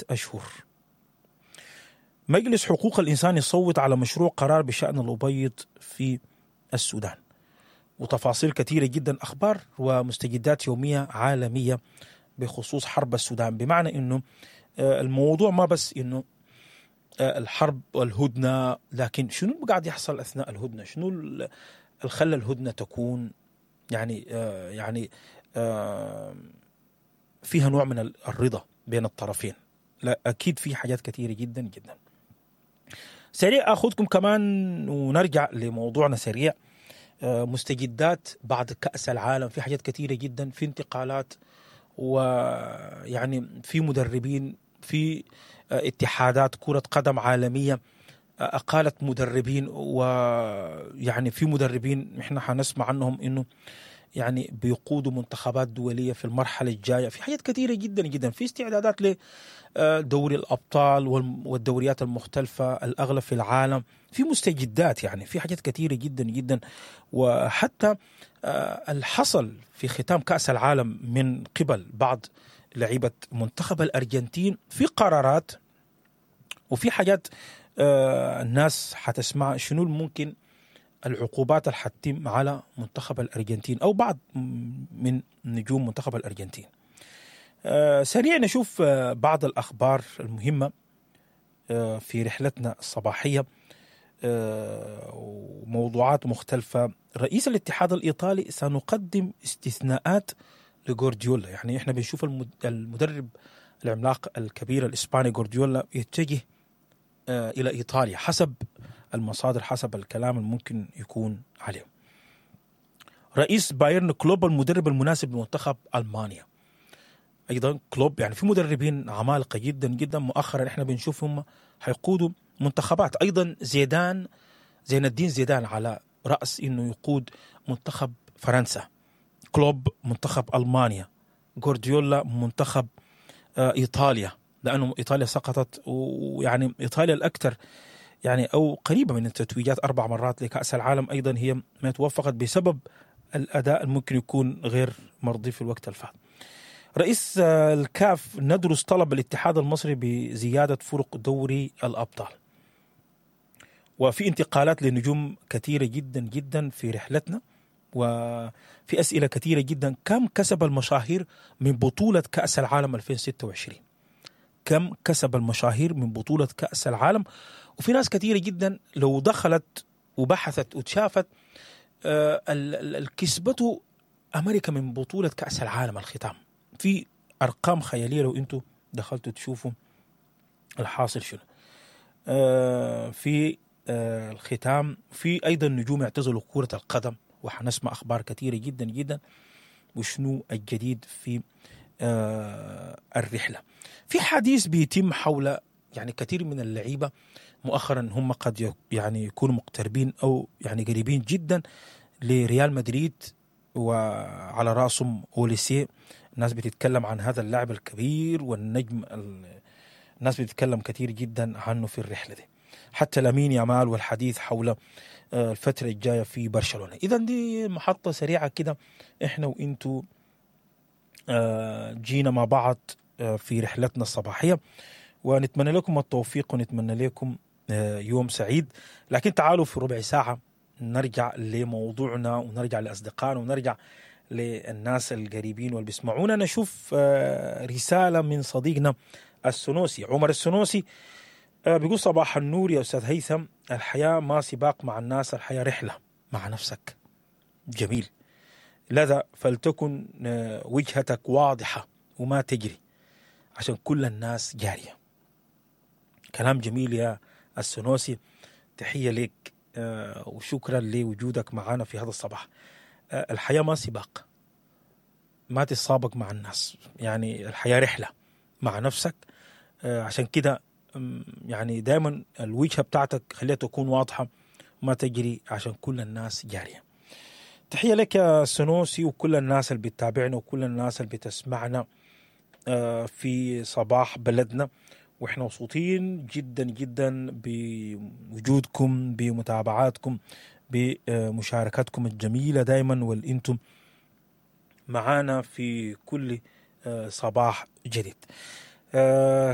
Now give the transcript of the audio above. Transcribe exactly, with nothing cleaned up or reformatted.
أشهر. مجلس حقوق الإنسان يصوت على مشروع قرار بشأن الأبيض في السودان. وتفاصيل كثيرة جدا، أخبار ومستجدات يومية عالمية بخصوص حرب السودان. بمعنى إنه الموضوع ما بس إنه الحرب والهدنة، لكن شنو اللي قاعد يحصل أثناء الهدنة؟ شنو اللي خلى الهدنة تكون يعني يعني فيها نوع من الرضا بين الطرفين؟ لا، أكيد في حاجات كثيرة جدا جدا. سريع أخذكم كمان ونرجع لموضوعنا سريع. مستجدات بعد كأس العالم، في حاجات كثيرة جدا، في انتقالات، ويعني في مدربين، في اتحادات كرة قدم عالمية أقالت مدربين، ويعني في مدربين احنا حنسمع عنهم انه يعني بيقودوا منتخبات دولية في المرحلة الجاية. في حاجات كثيرة جدا جدا، في استعدادات لدوري الأبطال والدوريات المختلفة الأغلب في العالم، في مستجدات، يعني في حاجات كثيرة جدا جدا. وحتى الحصل في ختام كأس العالم من قبل بعض لعيبة منتخب الأرجنتين، في قرارات وفي حاجات الناس حتسمع شنو الممكن العقوبات اللي حتتم على منتخب الأرجنتين أو بعض من نجوم منتخب الأرجنتين. سريع نشوف بعض الأخبار المهمة في رحلتنا الصباحية وموضوعات مختلفة. رئيس الاتحاد الإيطالي: سنقدم استثناءات لغورديولا. يعني احنا بنشوف المدرب العملاق الكبير الإسباني غورديولا يتجه إلى إيطاليا حسب المصادر، حسب الكلام الممكن يكون عليه. رئيس بايرن: كلوب المدرب المناسب لمنتخب ألمانيا. أيضا كلوب، يعني في مدربين عمالقة جدا جدا مؤخرا احنا بنشوفهم حيقودوا منتخبات. أيضا زيدان، زين الدين زيدان على رأس إنه يقود منتخب فرنسا، كلوب منتخب ألمانيا، غورديولا منتخب إيطاليا، لأنه إيطاليا سقطت، ويعني إيطاليا الأكثر يعني أو قريبة من التتويجات أربع مرات لكأس العالم، أيضا هي ما توفقت بسبب الأداء الممكن يكون غير مرضي في الوقت الفات. رئيس الكاف: ندرس طلب الاتحاد المصري بزيادة فرق دوري الأبطال. وفي انتقالات لنجوم كثيرة جدا جدا في رحلتنا، وفي أسئلة كثيرة جدا. كم كسب المشاهير من بطولة كأس العالم ألفين وستة وعشرين؟ كم كسب المشاهير من بطولة كأس العالم؟ وفي ناس كثيرة جدا لو دخلت وبحثت وتشافت الكسبته أمريكا من بطولة كأس العالم الختام، في أرقام خيالية لو أنتوا دخلتوا تشوفوا الحاصل شنو في الختام. في أيضا نجوم اعتزلوا كرة القدم، وحنسمع أخبار كثيرة جدا جدا وشنو الجديد في الرحلة. في حديث بيتم حول يعني كثير من اللعيبة مؤخرا هم قد يعني يكونوا مقتربين أو يعني قريبين جدا لريال مدريد، وعلى رأسهم أوليسي. الناس بتتكلم عن هذا اللاعب الكبير والنجم، الناس بتتكلم كثير جدا عنه في الرحلة دي، حتى لامين يامال والحديث حول الفترة الجاية في برشلونة. إذن دي محطة سريعة كده إحنا وإنتو جينا مع بعض في رحلتنا الصباحية، ونتمنى لكم التوفيق ونتمنى لكم يوم سعيد. لكن تعالوا في ربع ساعة نرجع لموضوعنا ونرجع لأصدقائنا ونرجع للناس القريبين واللي بيسمعونا. نشوف رسالة من صديقنا السنوسي عمر السنوسي، بيقول: صباح النور يا أستاذ هيثم، الحياة ما سباق مع الناس، الحياة رحلة مع نفسك. جميل. لذا فلتكن وجهتك واضحة وما تجري عشان كل الناس جارية. كلام جميل يا السنوسي، تحية لك وشكرا لوجودك معنا في هذا الصباح. الحياة ما سباق، ما تتسابق مع الناس، يعني الحياة رحلة مع نفسك. عشان كده يعني دايما الوجهة بتاعتك خليها تكون واضحة، ما تجري عشان كل الناس جارية. تحية لك يا سنوسي وكل الناس اللي بتتابعنا وكل الناس اللي بتسمعنا في صباح بلدنا، واحنا مبسوطين جدا جدا بوجودكم، بمتابعاتكم، بمشاركاتكم الجميلة دايما، والانتم معانا في كل صباح جديد. آه.